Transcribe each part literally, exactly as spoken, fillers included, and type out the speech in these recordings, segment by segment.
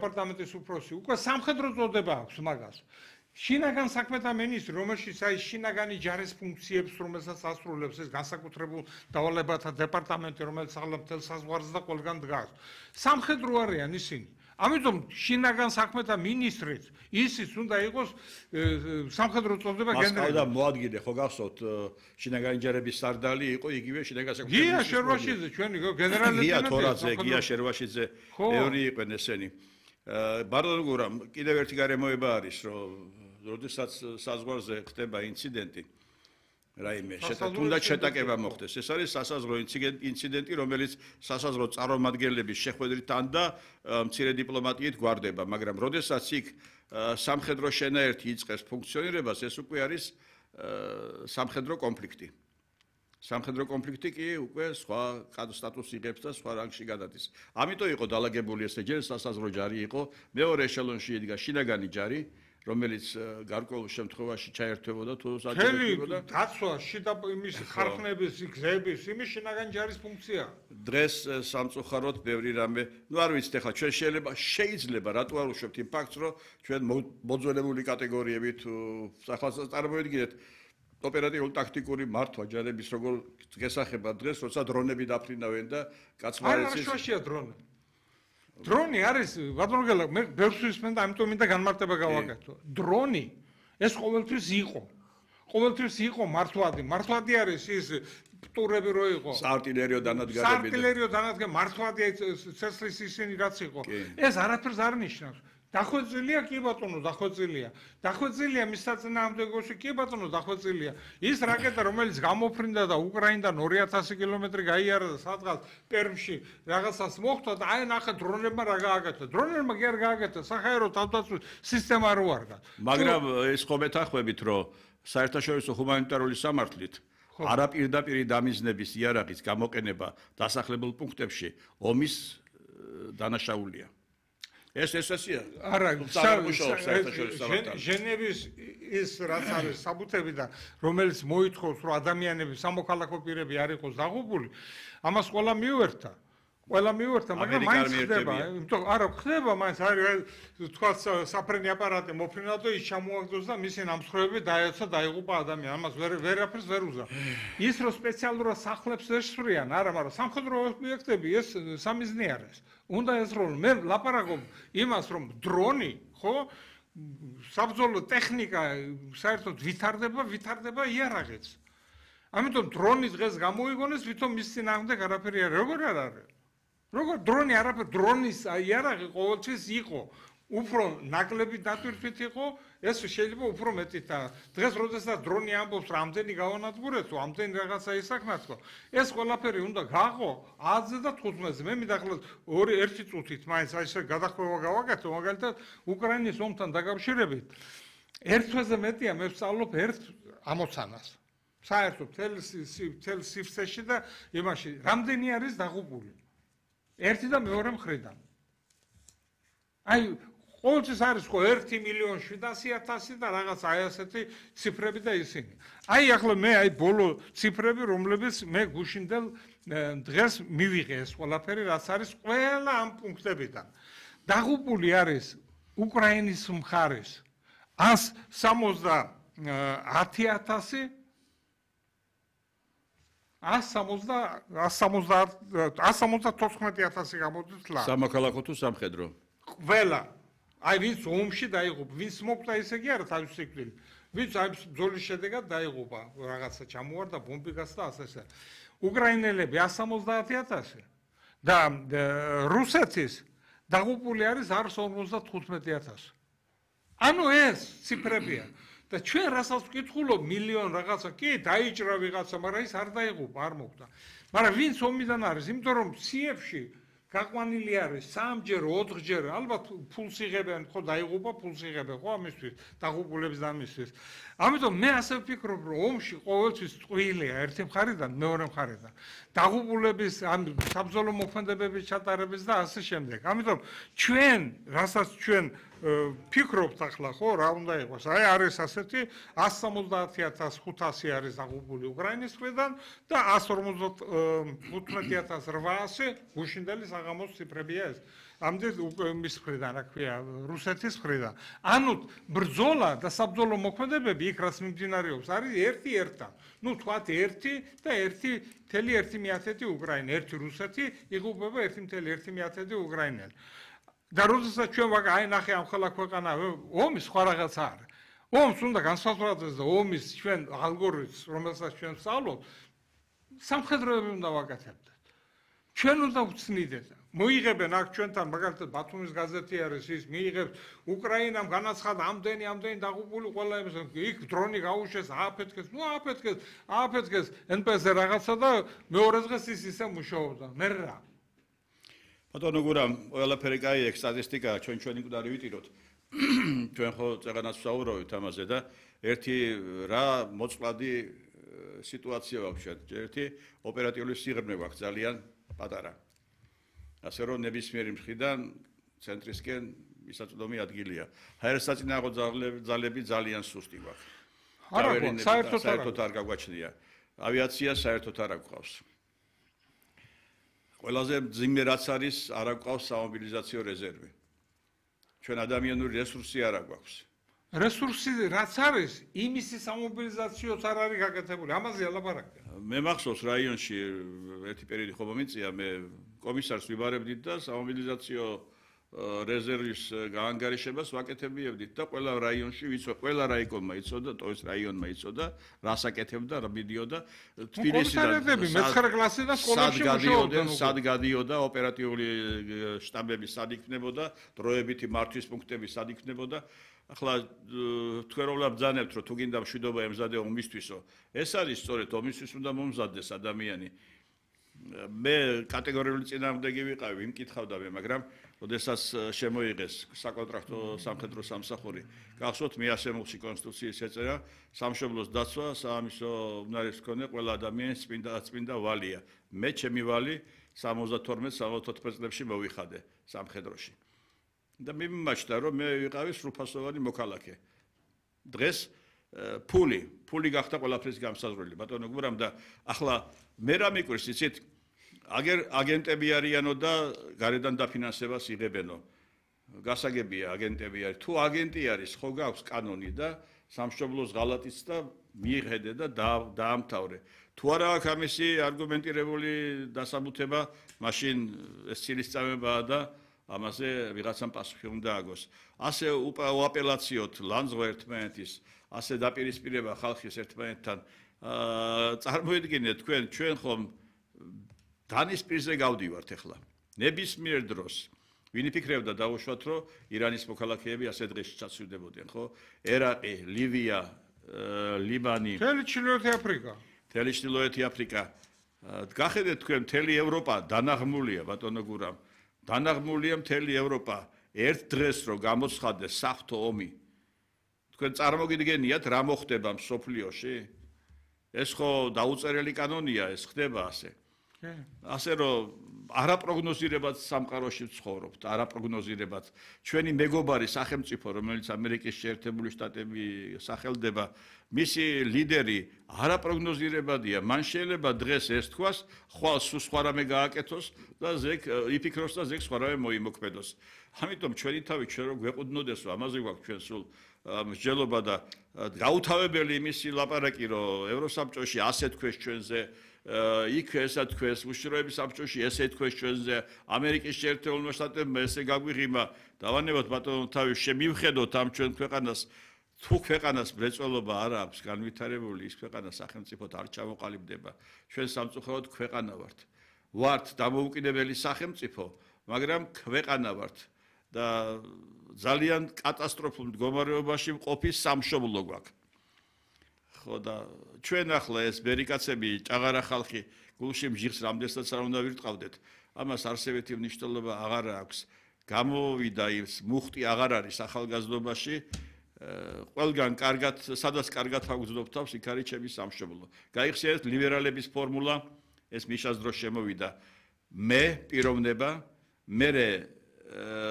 დეპარტამენტის უფროსი უკვე სამხედრო წოდება აქვს მაგას. შინაგან საქმეთა მინისტრი, რომელშიც აი შინაგანი ჯარის ფუნქციებს, რომელსაც ასრულებს ეს განსაკუთრებულ დავალებათა დეპარტამენტი, რომელიც ახლა მთელ საზღვარზე და ყველგან დგას. სამხედრო არიან ისინი. ამიტომ შინაგან საქმეთა მინისტრიც ისიც უნდა იყოს სამხედრო წოდება გენერალი. და მოადგილე ხო გახსოვთ შინაგანი ჯარების სარდალი იყო იგივე შინაგან საქმეთა მინისტრი. გია შერვაშიძე ჩვენი გენერალი გია თორაძე, გია შერვაშიძე ბევრი იყვნენ ესენი. ბარდონ გურამ კიდევ ერთი გარემოება არის რომ როდესაც საზღვარზე ხდება ინციდენტი რაიმე თუნდაც შეტაკება მოხდეს ეს არის სასაზღვრო ინციდენტი რომელიც სასაზღვრო წარმომადგენლების შეხვედრით ან და მცირე დიპლომატიით გვარდება მაგრამ როდესაც იქ სამხედრო შენაერთი იწყებს ფუნქციონირებას ეს უკვე არის სამხედრო კონფლიქტი სამხედრო კონფლიქტი კი უკვე სხვა სტატუსს იღებს და სხვა რანგში გადადის ამიტომ იყო დალაგებული ესე ჯერ სასაზღვრო ჯარი იყო მეორე ეშელონში იდგა შინაგანი ჯარი რომელიც გარკვეულ შემთხვევაში ჩაერთვებოდა თუ საჭიროებდა დაცვა შიდა იმის ხარხნების გზების იმის შინაგანი ჯარის ფუნქცია დღეს სამწუხაროდ ბევრი რამე ნუ არ ვიცით ახლა ჩვენ შეიძლება შეიძლება რატო არ უშვებთ იმ ფაქტს რომ ჩვენ მოძველებული კატეგორიები თუ ახლა წარმოედგინეთ ოპერატიული ტაქტიკური მართვა ჯარების როგორ გესახება დღეს როცა დრონები დაფრინავენ და კაცმარიცის არ შაშია დრონი დრონი არის ბატონო მე ბევრს ვისმენ და ამიტომ მინდა განმარტება გავაკეთო დრონი ეს ყოველთვის იყო ყოველთვის იყო მართვადი მართვადი არის ის პტურები რო იყო საარტილერიო დანადგარები საარტილერიო დანადგარი მართვადი ცეცხლის ისინი რაც იყო ეს არაფერს არ ნიშნავს დახვეწილია კი ბატონო დახვეწილია დახვეწილია მის საწინააღმდეგოში კი ბატონო დახვეწილია ის რაკეტა რომელიც გამოფრინდა და უკრაინიდან ორი ათასი კილომეტრი გაიარა და სადღაც პერმში რაღაცას მოხდა და აი ნახე დრონებმა რა გააკეთა დრონებმა კი არ გააკეთა საჰაერო თავდაცვის სისტემა რო არ გაქვს მაგრამ ეს ხო მეთანხმებით რომ საერთაშორისო ჰუმანიტარული სამართლით არაპირდაპირი დამიზნების იარაღის გამოყენება დასახლებულ პუნქტებში ომის დანაშაულია ეს ესეა არა ჟენევის ის რაც არის საბუთები და რომელიც მოითხოვს რომ ადამიანები სამოქალაქო პირები არ იყოს დაღუპული ამას ყველა მიუერთა ყველა მიუერთა მაგრამ მაინც ხდება იმიტომ არა ხდება მაინც არის თქვა საფრენი აპარატი მოფრინა და ის ჩამოაგდოს და მისი ნამსხვრევები დაეცა დაიღუპა ადამიანი ამას ვერ ვერაფერს ვერ უზა ის რომ სპეციალურად სახლებს ესვრიან არა მაგრამ სამხედრო ობიექტები ეს სამიზნე არის უნდა ესროლო მე ლაპარაკობ იმას რომ დრონი ხო საბრძოლო ტექნიკა საერთოდ ვითარდება ვითარდება იარაღიც ამიტომ დრონი დღეს გამოიგონეს ვითომ მის წინააღმდეგ არაფერი არ როგორ არ არის როგორ დრონი არაფერ დრონის იარაღი ყოველთვის იყო უფრო ნაკლები დატვირთვით იყო ეს შეიძლება უფრო მეტი და დღეს როდესაც დრონი ამბობს რამდენი გავანადგურეთ ამდენი რაღაცა ისახნათო ეს ყველაფერი უნდა გააღო ათზე და თხუთმეტზე მე მიდახლოთ ორი ერთი წუთით მაინც აი ესე გადახვევა გავაკეთო მაგალითად უკრაინის ომთან დაკავშირებით ერთ თვეზე მეტია მე ვსწავლობ ერთ ამოცანას საერთოდ თელ სივრცეში და იმაში რამდენი არის დაღუპული ერთი და მეორე მხრიდან აი ყოველთვის არის ხო ერთი მილიონი შვიდასი ათასი და რაღაც აი ასეთი ციფრები და ისინი. აი ახლა მე აი ბოლო ციფრები რომლებიც მე გუშინდელ დღეს მივიღე ეს ყველაფერი რაც არის ყველა ამ პუნქტებიდან. დაღუპული არის უკრაინის მხარეს ას სამოცდაათი ათასი ას სამოცდათოთხმეტი ათასი გამოდის ლა. სამოქალაქო თუ სამხედრო? ყველა აი ვინც ომში დაიღუპა, ვინც მოკვდა ისე კი არა თავის სიკვდილით. ვინც აი ბრძოლის შედეგად დაიღუპა, რაღაცა ჩამოვარდა, ბომბი გასცა ასე. უკრაინელები ას სამოცდაათი ათასი და რუსეთის დაღუპული არის არს ორმოცდათხუთმეტი ათასი. ანუ ეს ციფრებია. და ჩვენ რასაც ვკითხულობ მილიონ რაღაცა კი დაიჭრა ვიღაცა, მაგრამ ის არ დაიღუპა, არ მოკვდა. მაგრამ ვინც ომიდან არის, იმიტომ რომ სიებში გაყვანილი არის სამჯერ, ოთხჯერ, ალბათ ფულს იღებენ, ხო დაიღუპა, ფულს იღებენ, ხო ამისთვის, დაღუპულების და ამისთვის. ამიტომ მე ასე ვფიქრობ, რომ ომში ყოველთვის ტყუილია ერთი მხარიდან, მეორე მხარიდან. დაღუპულების, ამ საბრძოლო მოქმედებების ჩატარების და ასე შემდეგ. ამიტომ ჩვენ, რასაც ჩვენ ფიქრობთ ახლა, ხო, რა უნდა იყოს? აი არის ასეთი ას სამოცდაათი ათას ხუთასი არის დაღუპული უკრაინის მხრიდან და ას ორმოცდათხუთმეტი ათას რვაასი გუშინდელი საღამოს ციფრებია ეს. ამდენ მის მხრიდან, რა ქვია, რუსეთის მხრიდან. ანუ ბრძოლა და საბრძოლო მოქმედებები იქ რაც მიმდინარეობს, არის ერთი ერთთან. ნუ თქვათ ერთი და ერთი მთელი ერთი მეათედი უკრაინა, ერთი რუსეთი იღუპება ერთი მთელი ერთი მეათედი უკრაინელი. და როდესაც ჩვენ ვაგა აი ნახე ამ ხელა ქვეყანა ომის სხვა რაღაცა არის. ომს უნდა განსხვავდეს და ომის ჩვენ ალგორითმს, რომელსაც ჩვენ ვსწავლობთ, სამხედროები უნდა ვაკეთებდეთ. ჩვენ უნდა ვცნიდეთ. მოიღებენ აქ ჩვენთან მაგალითად ბათუმის გაზეთი არის ის მიიღებს უკრაინამ განაცხადა ამდენი ამდენი დაღუპული ყველა იმის იქ დრონი გაუშვეს ააფეთქეს ნუ ააფეთქეს ააფეთქეს ენ პე ეს-ზე რაღაცა და მეორე დღეს ის ისე მუშაობდა მე რა ბატონო გურამ ყველაფერი კაია სტატისტიკაა ჩვენ ჩვენი მკვდარი ვიტიროთ ჩვენ ხო წეგანაც ვსაუბრობთ ამაზე და ერთი რა მოწყვლადი სიტუაცია აქვს ერთი ოპერატიული სიღრმე გვაქვს ძალიან პატარა ასე რომ ნებისმიერი მხრიდან ცენტრისკენ მისაწვდომი ადგილია. ჰაერსაწინააღმდეგო ძალები ძალიან სუსტი გვაქვს. არა, საერთოდ არ გაგვაჩნია. ავიაცია საერთოდ არ გვყავს. ყველაზე მძიმე რაც არის, არ გვყავს სამობილიზაციო რეზერვი. ჩვენ ადამიანური რესურსი არ გვაქვს. რესურსი რაც არის, იმისი სამობილიზაციოც არ არის გაკეთებული. ამაზე ალაპარაკია. მე მახსოვს რაიონში ერთი პერიოდი ხო მომიწია მე კომისარს ვიბარებდით და სამობილიზაციო რეზერვის გაანგარიშებას ვაკეთებიებდით და ყველა რაიონში ვიცო, ყველა რაიკონმა იცოდა, ტოვის რაიონმა იცოდა, რას აკეთებდა, რა მიდიოდა თბილისიდან მეცხრე კლასიდან სკოლებში მუშაობდნენ. სად გადიოდა ოპერატიული შტაბები, სად იქნებოდა, დროებითი მართვის პუნქტები სად იქნებოდა. ახლა თქვენ რომ ბრძანებთ, რომ თუ გინდა მშვიდობა ემზადე ომისთვისო, ეს არის სწორედ ომისთვის უნდა მომზადდეს ადამიანი. მე კატეგორიული წინააღმდეგი ვიყავი, ვიმკითხავდა მე, მაგრამ როდესაც შემოიღეს საკონტრაქტო სამხედრო სამსახური, გახსოვთ მეასემულში კონსტიტუციის ეწერა, სამშობლოს დაცვა, საამისო უნარებს ჰქონდა ყველა ადამიანის წმინდა წმინდა ვალია. მე ჩემი ვალი სამოცდათორმეტ სამოცდაოთხ წლებში მოვიხადე სამხედროში. და მიმაჩნდა რომ მე ვიყავი სრულფასოვანი მოქალაქე. დღეს ფული, ფული გახდა ყველაფრის გამსაზღვრელი. ბატონო გურამ და ახლა მე რა მიკვირს იცით? აგერ აგენტები არიანო და გარედან დაფინანსებას იღებენო. გასაგებია აგენტები არის. თუ აგენტი არის, ხო გაქვს კანონი და სამშობლოს ღალატიც და მიიღედე და დაამთავრე. თუ არა აქვს ამისი არგუმენტირებული დასაბუთება, მაშინ ეს ცილისწამებაა და ამაზე ვიღაცამ პასუხი უნდა აგოს. ასე უაპელაციოთ ლანძღვა ერთმანეთის, ასე დაპირისპირება ხალხის ერთმანეთთან. წარმოიდგინეთ თქვენ, ჩვენ ხომ დანის პირზე გავდივართ ახლა. ნებისმიერ დროს. ვინ იფიქრებდა დაუშვათ, რომ ირანის მოქალაქეები ასე დღეში ჩაცვიდებოდნენ, ხო? ერაყი, ლივია, ლიბანი, მთელი ჩრდილოეთი აფრიკა. მთელი ჩრდილოეთი აფრიკა. გახედეთ თქვენ, მთელი ევროპა დანაღმულია, ბატონო გურამ. დანაღმულია მთელი ევროპა ერთ დღეს რო გამოცხადდეს საფრთხო ომი თქვენ წარმოგიდგენიათ რა მოხდება მსოფლიოში ეს ხო დაუწერელი კანონია ეს ხდება ასე ასე რომ არაპროგნოზირებად სამყაროში ვცხოვრობთ არაპროგნოზირებად ჩვენი მეგობარი სახელმწიფო რომელიც ამერიკის შეერთებული შტატები სახელდება მისი ლიდერი არაპროგნოზირებადია მან შეიძლება დღეს ეს თქვას ხვალ სულ სხვა რამე გააკეთოს და ზეგ იფიქროს და ზეგ სხვა რამე მოიმოქმედოს ამიტომ ჩვენი თავი ჩვენ რო გვეყუდნოდეს რომ ამაზე გვაქვს ჩვენ სულ მსჯელობა და გაუთავებელი იმისი ლაპარაკი რომ ევროსაბჭოში ასე თქვეს ჩვენზე იქ ესა თქვეს უშიშროების საბჭოში ესე თქვეს ჩვენზე ამერიკის შეერთებულმა შტატებმა ესე გაგვიღიმა დავანებოთ ბატონო თავი შემივხედოთ ამ ჩვენ ქვეყანას თუ ქვეყანას მრეწველობა არ აქვს განვითარებული ის ქვეყანა სახელმწიფოდ არ ჩამოყალიბდება ჩვენ სამწუხაროდ ქვეყანა ვართ ვართ დამოუკიდებელი სახელმწიფო მაგრამ ქვეყანა ვართ და ძალიან კატასტროფულ მდგომარეობაში მყოფი სამშობლო გვაქვს ხო და ჩვენ ახლა ეს ბერიკაცები ჭაღარა ხალხი გულში მჟიღს რამდენსაც არ უნდა ვირტყავდეთ ამას არსებითი მნიშვნელობა აღარ აქვს გამოვიდა ის მუხტი აღარ არის ახალგაზრდობაში ყველგან კარგად სადაც კარგად აგვზნობ თავს იქ არის ჩემი სამშობლო გაიხსენეთ ლიბერალების ფორმულა ეს მიშას დროს შემოვიდა მე პიროვნება მე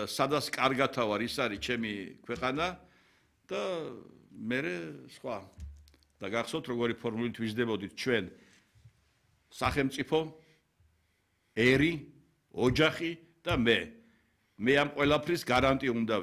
სადაც კარგად ვარ ის არის ჩემი ქვეყანა და მე სხვა და გახსოვთ როგორი ფორმულით ვიზრდებოდით ჩვენ სახელმწიფო ერი ოჯახი და მე მე ამ ყველაფრის გარანტი უნდა